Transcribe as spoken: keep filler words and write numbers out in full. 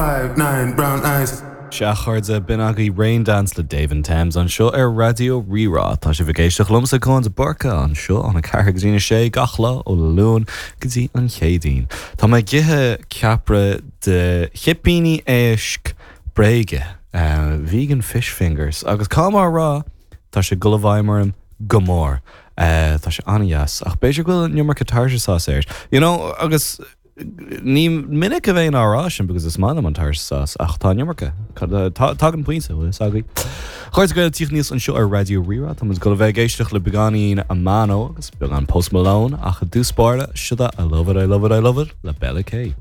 Five, nine, brown eyes. Sea a chairde, b'in agaibh Rain Dance le Dave and Thames anseo ar Raidió Rí-Rá. Tá sibh ag éisteacht liomsa Conn de Búrca anseo óna ceathair go dtí a sé gach lá ó Luan go dtí an Chéadaoin. Tá mé ag ithe ceapra de chipíní éisc bréige, uh, vegan fish fingers, agus cá mar rá tá sé ag dul i bhfeidhm orm go mór. Uh, tá sé an-deas ach b'fhéidir go bhfuil an iomarca tartar sauce air. You know, agus ní minic a bheinn á rá sin because is maith liom an tartar sauce ach tá an iomarca Tagann pointe is agaí. Chuir go tíoch níos anseo ar Raidió Rí-Rá Tá go bheith ag éisteacht le beagáinín Amano agus beagán Post Malone ach i dtús báire seo I love it, I love it, I love it le Bella K.